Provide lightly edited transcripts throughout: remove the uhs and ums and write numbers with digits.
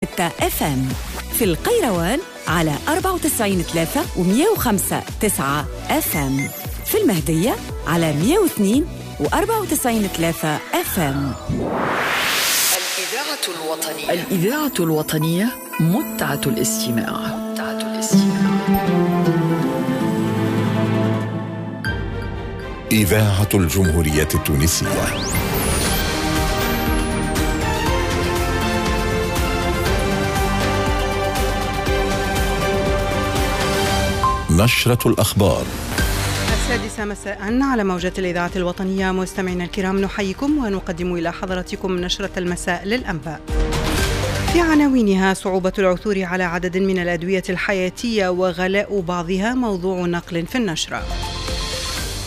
FM في القيروان على 94.3 و105.9 FM، في المهدية على 102 و94.3 FM. الإذاعة الوطنية، الإذاعة الوطنية، متعة الاستماع، متعة الاستماع. إذاعة الجمهورية التونسية. نشرة الأخبار. 6 مساء على موجات الإذاعة الوطنية. مستمعينا الكرام، نحييكم ونقدم إلى حضراتكم نشرة المساء للأنباء. في عناوينها: صعوبة العثور على عدد من الأدوية الحياتية وغلاء بعضها، موضوع نقل في النشرة.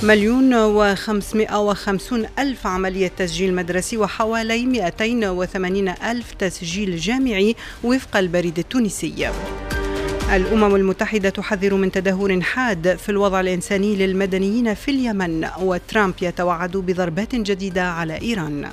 1,550,000 عملية تسجيل مدرسي وحوالي 280,000 تسجيل جامعي وفق البريد التونسي. الأمم المتحدة تحذر من تدهور حاد في الوضع الإنساني للمدنيين في اليمن، وترامب يتوعد بضربات جديدة على إيران.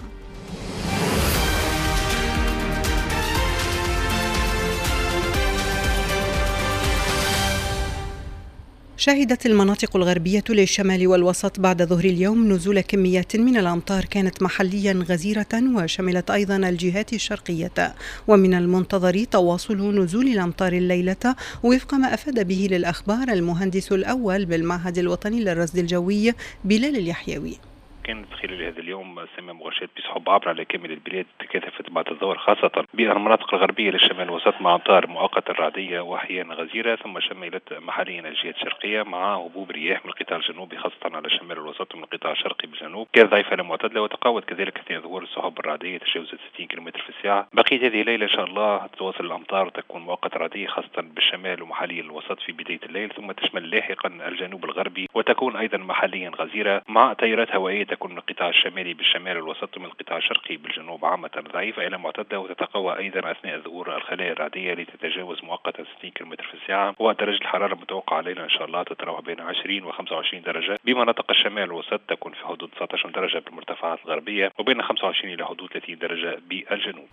شهدت المناطق الغربية للشمال والوسط بعد ظهر اليوم نزول كميات من الأمطار كانت محليا غزيرة، وشملت أيضا الجهات الشرقية. ومن المنتظر تواصل نزول الأمطار الليلة وفق ما أفاد به للأخبار المهندس الأول بالمعهد الوطني للرصد الجوي بلال اليحيوي. كانت خلال هذا اليوم سماء مغشاة بسحب عبر على كامل البلاد، تكاثفت بعد الظهر خاصة بالمناطق الغربية للشمال الوسط مع أمطار مؤقتة رعدية وأحيانا غزيرة، ثم شملت محليا الجهات الشرقية مع هبوب رياح من القطاع الجنوبي خاصة على الشمال الوسط ومن القطاع الشرقي بالجنوب، كانت ضعيفة لا معتدلة، وتقوت كذلك أثناء ظهور السحب الرعدية تجاوزت 60 كم في الساعة. بقية هذه الليلة إن شاء الله تتواصل الأمطار وتكون مؤقتة رعدية خاصة بالشمال ومحليا الوسط في بداية الليل، ثم تشمل لاحقا الجنوب الغربي وتكون أيضا محليا غزيرة مع تيارات هوائية تكون من القطاع الشمالي بالشمال الوسط ومن القطاع الشرقي بالجنوب عامة ضعيفة إلى معتدلة، وتتقوى أيضا أثناء ظهور الخلايا الرعدية لتتجاوز مؤقتا 60 كم في الساعة. ودرجة الحرارة المتوقعة ليلة إن شاء الله تتراوح بين 20 و 25 درجة بمناطق الشمال الوسط، تكون في حدود 19 درجة بالمرتفعات الغربية وبين 25 إلى حدود 30 درجة بالجنوب.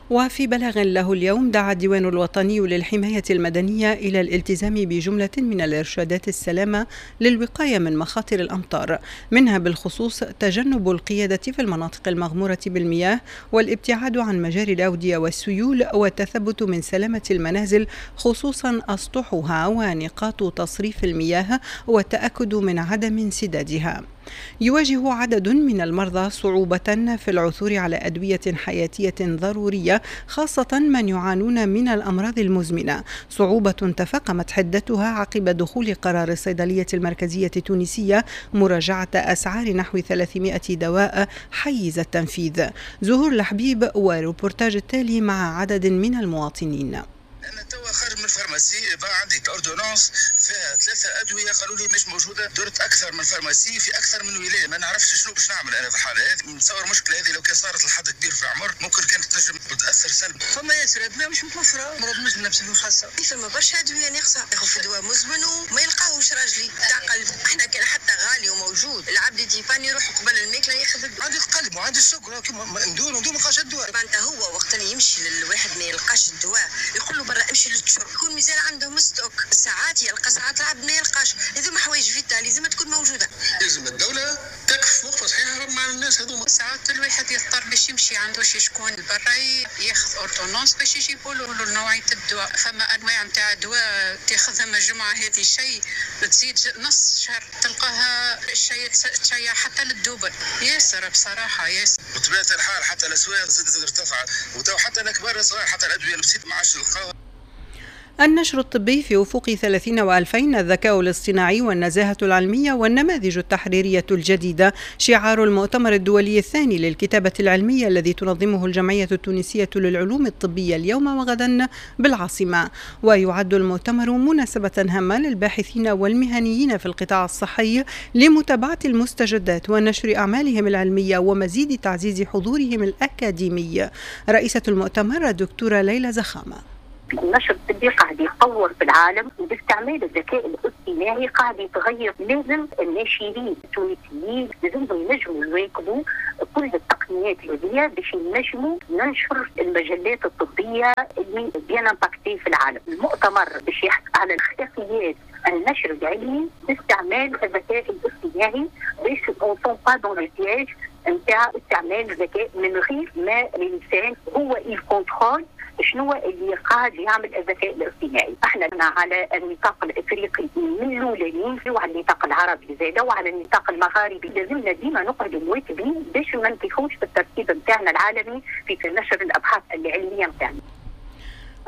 وفي بلاغ له اليوم، دعا الديوان الوطني للحماية المدنية إلى الالتزام بجملة من الإرشادات السلامة للوقاية من مخاطر الأمطار، منها بالخصوص تجنب القيادة في المناطق المغمورة بالمياه، والابتعاد عن مجاري الأودية والسيول، والتثبت من سلامة المنازل خصوصا أسطحها ونقاط تصريف المياه، والتأكد من عدم انسدادها. يواجه عدد من المرضى صعوبة في العثور على أدوية حياتية ضرورية، خاصة من يعانون من الأمراض المزمنة، صعوبة تفاقمت حدتها عقب دخول قرار الصيدلية المركزية التونسية مراجعة أسعار نحو 300 دواء حيز التنفيذ. زهور الحبيب وروبورتاج التالي مع عدد من المواطنين. انا توا خارج من ال pharmacie، بقى عندي ordonnance فيها 3 ادوية قالوا لي مش موجودة، درت اكثر من pharmacie في اكثر من ولاية، ما نعرفش شنو باش نعمل انا في الحالة هذه. نتصور المشكلة هذه لو كان صارت لحد كبير في العمر ممكن كانت تنجم تاثر سلبا. فما ياسر ادوية مش متوفرة، مرض مزمن بصفة خاصة، فما برشا ادوية ناقصه، ياخذ في دواء مزمن وما يلقاهوش راجلي تاع قلب. احنا كان حتى غالي وموجود، العبد يديبان يروح قبل الماكلة ياخذ الدواء. عندي القلب وعندي السكر، ندور ندور ما نلقاش الدواء. معناتها هو وقت اللي يمشي للواحد ما يلقاش الدواء يقول له برا امشي للتشرب، يكون مازال عندهم stock، ساعات يلقى ساعات العبد ما يلقاش. هذوما حوايج vitales لازم تكون موجودة. لازم الدولة تقف وقفه صحيحه مع الناس هذوما. ساعات الواحد يضطر باش يمشي عنده شي شكون برا ياخذ ordonnance باش يجيبوا له نوعية الدواء. فما انواع نتاع دواء تاخذها من الجمعة هذه شيء تزيد نص شهر تلقاها الشيء تشيع حتى لل double. ياسر بصراحة ياسر. بطبيعة الحال حتى الاسواق زادت ارتفعت، وتو حتى الكبار الصغار حتى الادوية البسيطة ما عادش نلقاوها. النشر الطبي في أفق 2030، الذكاء الاصطناعي والنزاهة العلمية والنماذج التحريرية الجديدة، شعار المؤتمر الدولي الثاني للكتابة العلمية الذي تنظمه الجمعية التونسية للعلوم الطبية اليوم وغدا بالعاصمة. ويعد المؤتمر مناسبة هامة للباحثين والمهنيين في القطاع الصحي لمتابعة المستجدات ونشر أعمالهم العلمية ومزيد تعزيز حضورهم الأكاديمي. رئيسة المؤتمر الدكتورة ليلى زخامة. النشر الطبي قاعد يتطور في العالم، وباستعمال الذكاء الاصطناعي قاعد يتغير. لازم الناشرين التونسيين لازمهم ينجموا يواكبوا كل التقنيات هذه باش ينجموا ننشر المجلات الطبية اللي bien impactées في العالم. المؤتمر باش يحكي على اخلاقيات النشر العلمي باستعمال الذكاء الاصطناعي باش on tombe pas dans le piège نتاع استعمال الذكاء من غير ما الانسان هو ال contrôle شنو اللي قاعد يعمل الذكاء الاصطناعي. احنا على النطاق الافريقي من الاولانيين، وعلى النطاق العربي زاده، وعلى النطاق المغاربي. لازمنا ديما نقعدوا مواكبين باش ما نطيحوش في الترتيب نتاعنا العالمي في نشر الابحاث العلمية نتاعنا.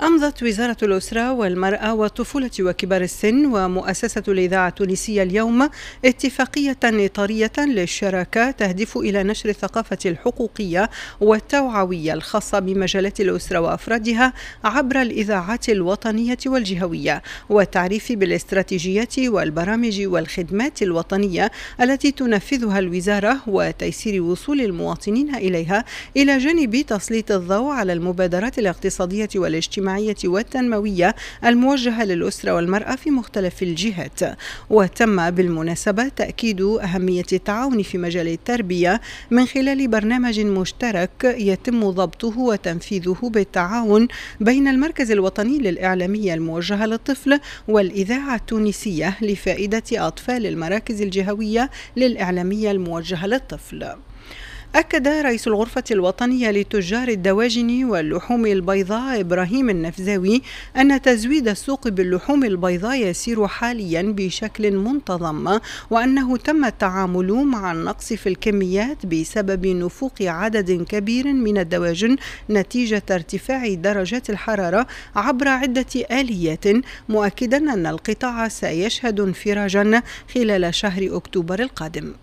أمضت وزارة الأسرة والمرأة والطفولة وكبار السن ومؤسسة الإذاعة التونسية اليوم اتفاقية إطارية للشراكة تهدف إلى نشر الثقافة الحقوقية والتوعوية الخاصة بمجالات الأسرة وأفرادها عبر الإذاعات الوطنية والجهوية، والتعريف بالاستراتيجيات والبرامج والخدمات الوطنية التي تنفذها الوزارة وتيسير وصول المواطنين إليها، إلى جانب تسليط الضوء على المبادرات الاقتصادية والاجتماعية والتنموية الموجهة للأسرة والمرأة في مختلف الجهات. وتم بالمناسبة تأكيد أهمية التعاون في مجال التربية من خلال برنامج مشترك يتم ضبطه وتنفيذه بالتعاون بين المركز الوطني للإعلامية الموجهة للطفل والإذاعة التونسية لفائدة أطفال المراكز الجهوية للإعلامية الموجهة للطفل. أكد رئيس الغرفة الوطنية لتجار الدواجن واللحوم البيضاء إبراهيم النفزاوي أن تزويد السوق باللحوم البيضاء يسير حاليا بشكل منتظم، وأنه تم التعامل مع النقص في الكميات بسبب نفوق عدد كبير من الدواجن نتيجة ارتفاع درجات الحرارة عبر عدة آليات، مؤكدا أن القطاع سيشهد انفراجا خلال شهر أكتوبر القادم.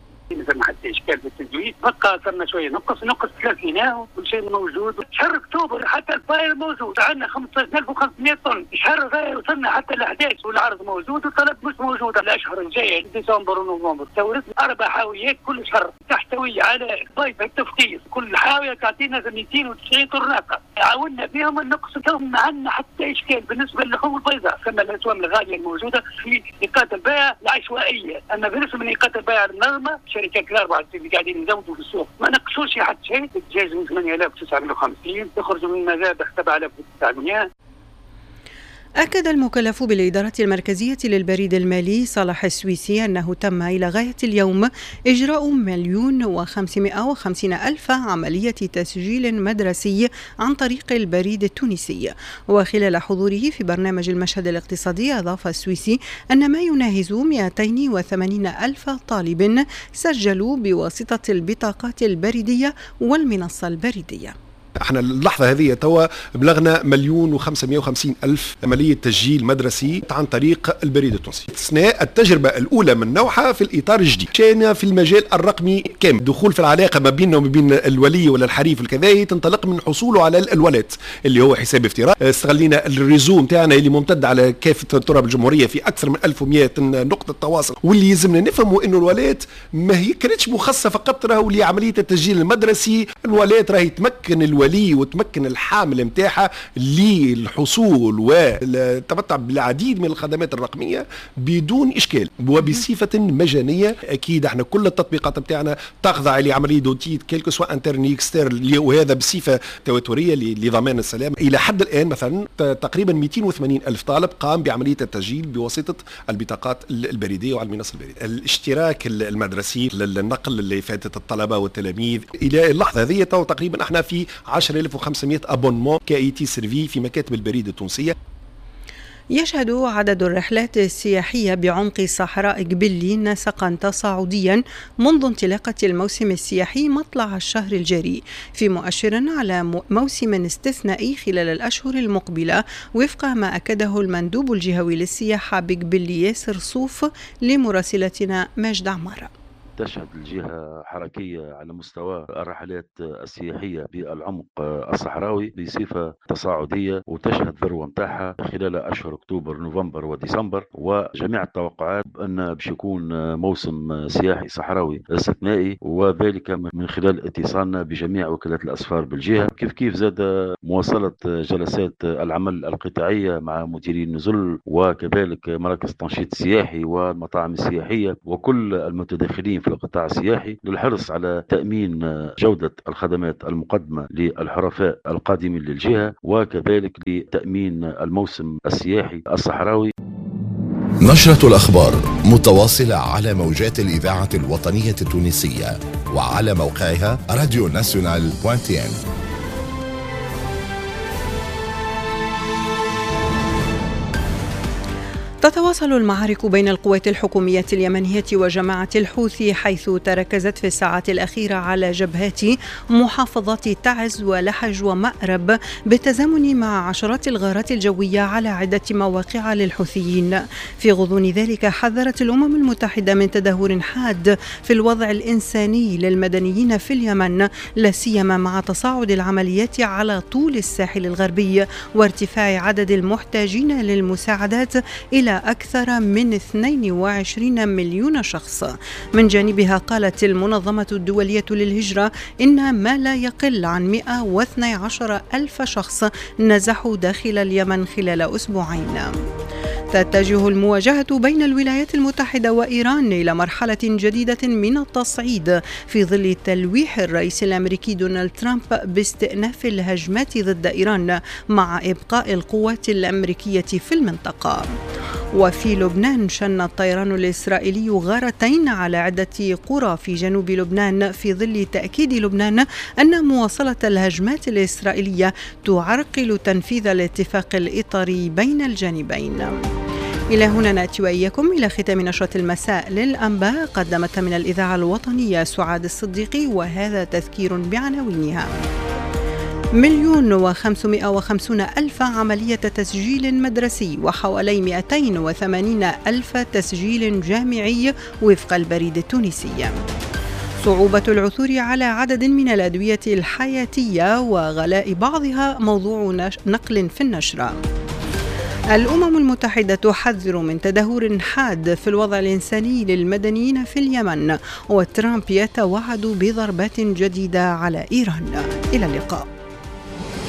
ما حتى اشكال في التزويد، بقى صرنا شوية نقص 30 وكل شيء موجود. شهر اكتوبر حتى الفاير موجود، عندنا 15500 طن. شهر غير وصلنا حتى ل 11 والعرض موجود والطلب مش موجود. الاشهر الجاية ديسمبر ونوفمبر توردنا 4 حاويات كل شهر تحتوي على ضيف التفقيس، كل حاوية تعطينا 290 طرناقه. عاونا بهم النقص، ما عندنا حتى اشكال بالنسبة للحوم البيضاء. ثم الاسوام الغالية الموجودة في نقاط البيع العشوائية، اما بالنسبة لنقاط البيع المنظمة الشركات الاربعة اللي قاعدين يزودوا في السوق ما نقصوش حتى شيء. الدجاج من 8950 يخرج من المذابح 7900. أكد المكلف بالإدارة المركزية للبريد المالي صلاح السويسي أنه تم إلى غاية اليوم إجراء 1,550,000 عملية تسجيل مدرسي عن طريق البريد التونسي. وخلال حضوره في برنامج المشهد الاقتصادي أضاف السويسي أن ما يناهز 280,000 طالب سجلوا بواسطة البطاقات البريدية والمنصة البريدية. احنا اللحظة هذه توا بلغنا 1,550,000 عملية تسجيل مدرسي عن طريق البريد التونسي. اثناء التجربة الاولى من نوعها في الاطار الجديد، مشينا في المجال الرقمي كامل، دخول في العلاقة ما بيننا وما بين الولي ولا الحريف الكذا تنطلق من حصوله على ال wallet اللي هو حساب افتراضي. استغلينا ال réseau نتاعنا اللي ممتد على كافة تراب الجمهورية في اكثر من 1100 نقطة تواصل، واللي يلزمنا نفهموا انه ال wallet ما هي كانتش مخصصة فقط راهو لعملية التسجيل المدرسي، ال wallet راهي تمكن الولي وتمكن الحامل نتاعها للحصول والتمتع بالعديد من الخدمات الرقمية بدون اشكال وبصفه مجانية. اكيد احنا كل التطبيقات نتاعنا تخضع لعملية d'audit quel que soit interne externe، وهذا بصفة تواتريه لضمان السلام. الى حد الان مثلا تقريبا 280 الف طالب قام بعملية التسجيل بواسطة البطاقات البريدية وعلى المنصة البريدية. الاشتراك المدرسي للنقل اللي فاتت الطلبة والتلاميذ الى اللحظة هذه تقريبا احنا في 10500 abonnements qui a été servi في مكاتب البريد التونسية. يشهد عدد الرحلات السياحية بعمق صحراء قبلي نسقا تصاعديا منذ انطلاقة الموسم السياحي مطلع الشهر الجاري، في مؤشر على موسم استثنائي خلال الأشهر المقبلة، وفق ما أكده المندوب الجهوي للسياحة بقبلي ياسر صوف لمراسلتنا ماجد عمارة. تشهد الجهة حركية على مستوى الرحلات السياحية بالعمق الصحراوي بصفة تصاعدية، وتشهد ذروة متاعها خلال أشهر أكتوبر نوفمبر وديسمبر، وجميع التوقعات أن باش يكون موسم سياحي صحراوي استثنائي، وذلك من خلال اتصالنا بجميع وكالات الأسفار بالجهة. كيف كيف زاد مواصلة جلسات العمل القطاعية مع مديري النزل وكذلك مراكز التنشيط السياحي والمطاعم السياحية وكل المتداخلين في القطاع السياحي للحرص على تأمين جودة الخدمات المقدمة للحرفاء القادمين للجهة، وكذلك لتأمين الموسم السياحي الصحراوي. نشرة الأخبار متواصلة على موجات الإذاعة الوطنية التونسية وعلى موقعها radionational.tn. تتواصل المعارك بين القوات الحكومية اليمنية وجماعة الحوثي، حيث تركزت في الساعات الأخيرة على جبهات محافظات تعز ولحج ومأرب، بالتزامن مع عشرات الغارات الجوية على عدة مواقع للحوثيين. في غضون ذلك حذرت الأمم المتحدة من تدهور حاد في الوضع الإنساني للمدنيين في اليمن، لا سيما مع تصاعد العمليات على طول الساحل الغربي وارتفاع عدد المحتاجين للمساعدات إلى أكثر من 22 مليون شخص. من جانبها قالت المنظمة الدولية للهجرة إن ما لا يقل عن 112 ألف شخص نزحوا داخل اليمن خلال أسبوعين. تتجه المواجهة بين الولايات المتحدة وإيران إلى مرحلة جديدة من التصعيد في ظل تلويح الرئيس الأمريكي دونالد ترامب باستئناف الهجمات ضد إيران مع إبقاء القوات الأمريكية في المنطقة. وفي لبنان شن الطيران الإسرائيلي غارتين على عدة قرى في جنوب لبنان في ظل تأكيد لبنان أن مواصلة الهجمات الإسرائيلية تعرقل تنفيذ الاتفاق الإطاري بين الجانبين. إلى هنا نأتي وإياكم إلى ختام نشرة المساء للأنباء، قدمتها من الإذاعة الوطنية سعاد الصديقي، وهذا تذكير بعناوينها. 1,550,000 عملية تسجيل مدرسي وحوالي 280,000 تسجيل جامعي وفق البريد التونسي. صعوبة العثور على عدد من الأدوية الحياتية وغلاء بعضها موضوع نقل في النشرة. الأمم المتحدة تحذر من تدهور حاد في الوضع الإنساني للمدنيين في اليمن، وترامب يتوعد بضربات جديدة على إيران. إلى اللقاء.